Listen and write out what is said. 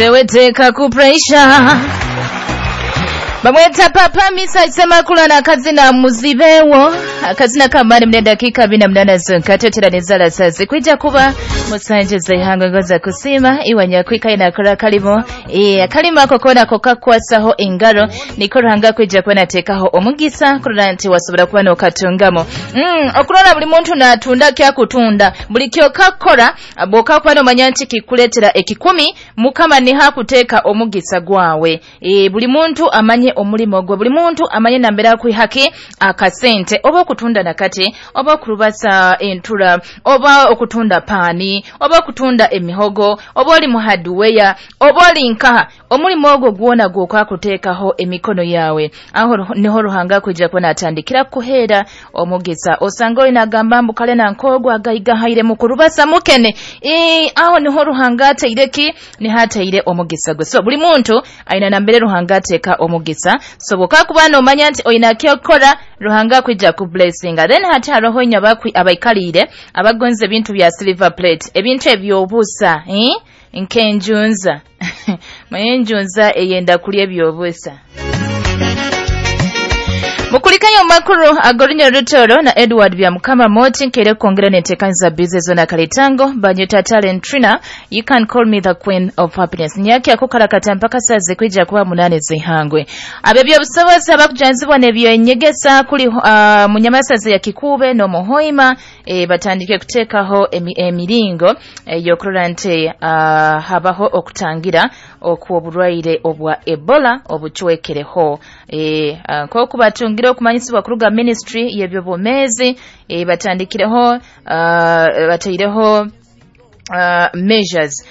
Teweteka ku pressure. Bamweta Papa Misa Semakula akazina Muzibewo, akazina kamani mne dakika 48 zonka teteraniza lasazi kwija kuba musanje zihanga ngoza kusima iwanyakwika inakora kalimo akalimo ako kona kokakwasaho engaro niko Ruhanga kwija kuba nateekaho omugisa kurora nti wasobora kuba nokatungamo. Okurora buli muntu natunda kyakutunda, buli kyokakora bwokakuba nomanya nti kikuleetera ekikumi, Mukama niho akuteeka omugisa gwawe. Buli muntu amanye omulimo gwe, buli muntu amanye nambere akwihaki akasente, oba okutunda nakati, oba okurubasa entura, oba okutunda paani, oba okutunda emihogo, oba oli mu hardware, oba oli nkaha, omulimo ogwo gwona gwokwakuteekaho emikono yawe, aho niho Ruhanga kwija kuba natandikira kukuheera omugisa. Osanga oli nagamba mbu kale nankogwa agaigahaire mu kurubasa mukene, aho niho Ruhanga ateire ki, niho ateire omugisa gwe. So buli muntu aina nambere Ruhanga ateeka omugisa. So bwokakuba nomanya nti oina kyokora, Ruhanga kwija ku blessinga. Then hati haroho inywe abaikaliire abagonza ebintu bya silver plate, ebintu ebyobusa, nkenjunza manye enjunza eyenda kulya ebyobusa. Mukulikayo makuru agorinya rutoro na Edward Byamukama Moti nkere kwongera nentekanza bize zona kalitango banyuta talent trina. You can call me the queen of happiness. Nyaki akukarakata mpaka saze kwija kuba 8 zihangwe. Abebyo busobozi abakujanzibwa nebyo enyegesa kuli munyamasazi ya Kikube no Muhoima, batandike kuteekaho emiringo yokurora nti habaho okutangira okw'oburwaire obwa Ebola obucwekereho. Nk'oku batungira okumanyisibwa kuruga ministry y'ebyobwomeezi, batandikireho, bataireho measures.